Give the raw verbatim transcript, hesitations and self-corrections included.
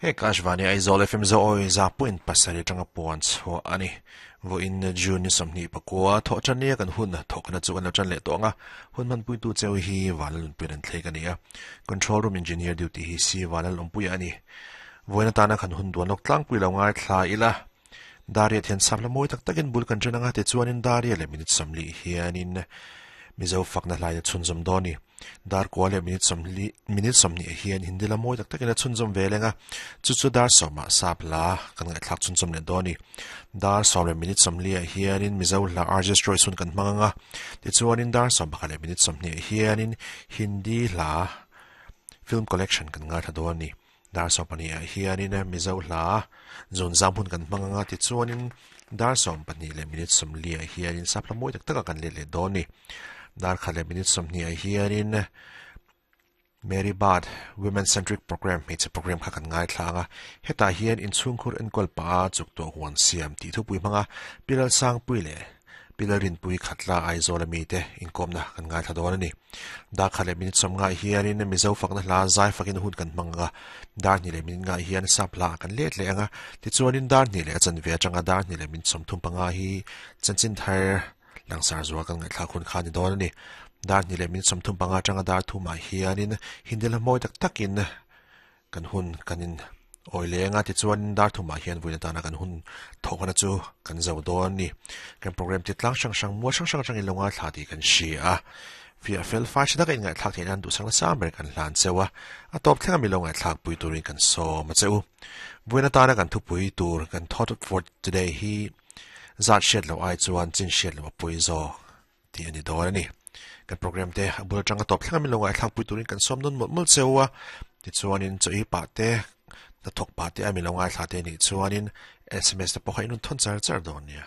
He Akashvani Aizawl F M zo awi za point pasarih atanga puan chhuah a ni. Vawiin June ni sawmhnih pakua thawh tan nia kan hun thawkna chu kan lo tan leh tawh anga hun hmanpuitu cheu hi Vanlalunpuian an thlek a ni a. Control room engineer duty hi si Vanlalawmpuia a ni. Vawiin atana kan hun duan lawk tlangpui lo ngai thla ila. Daria thian sam la mawi tak takin bul kan ṭan anga tichuanin Daria leh minute sawmli hianin Mizo fakna hlaia chhunzawm dawn ni. Dar kua leh minute sawmli minute sawmhnih hian Hindi la mawi tak takin a chhunzawm ve lenga chu chu dar sawmah sap la kan ngaihthlak chhunzawm leh dawn ni. Dar sawm leh minute sawmli ah hianin Mizo hla R J Stroy sun kan hmang anga tichuanin dar sawm pakhat leh minute sawmhnih hianin Hindi hla film collection kan ngaithla dawn ni. Dar sawm pahnih ah hianin Mizo hla zun zam hun kan hmang anga tichuanin dar sawm pahnih leh minute sawmli ah hianin sap hla mawi tak taka kan let leh dawn ni. Dar khat leh minute sawmhnih ah hianin Mary Bad Women Centric Program hmeichhe program kha kan ngaithla anga hetah hian inchhungkhur enkawl pa chuk tawh huan siam tih thupui hmanga Pilal Sangpui leh Pilal Rinpui Khatla Aizawl ami te inkawmna kan ngaithla dawn a ni. Dar khat leh minute sawm nga hianin Mizo fakna hla zai fakin hun kan hmang anga dar hnih leh minute nga hian sap hla kan let leh anga tichuanin dar hnih leh a chanve atanga dar hnih leh minute sawmthum panga hi chanchin thar langsar zual kan ngaihthlak hun kha ni dawn a ni. Dar hnih leh minute sawmthum panga atanga dar thumah hianin Hindi la mawi tak takin kan hun kanin awi lenga tichuanin dar thumah hian vawiin atana kan hun thawkna chu kan zo dawn ni. Kan program ti tlang hrang hrang mual hrang hrang atangin lo ngaithla tih kan hria a. Fia fel fai tha taka inngaihthlak theih nan duhsak nasa ber kan hlan cheu a. A tawp thleng ami lo ngaihthlak pui turin kan sawm a cheu. Vawiin atana kan thupui tur kan thought for today hi zat hriat lo ai chuan chin hriat lo a pui zawk tih a ni dawn a ni. Kan program te a bul atanga tawp thleng ami lo ngaihthlak pui turin kan sawm nawn mawlh mawlh cheu a. Tichuanin chaw i pah te hnathawk pah te ami lo ngaithla te nih chuanin S M S te pawh kha inun thawn char char dawn nia.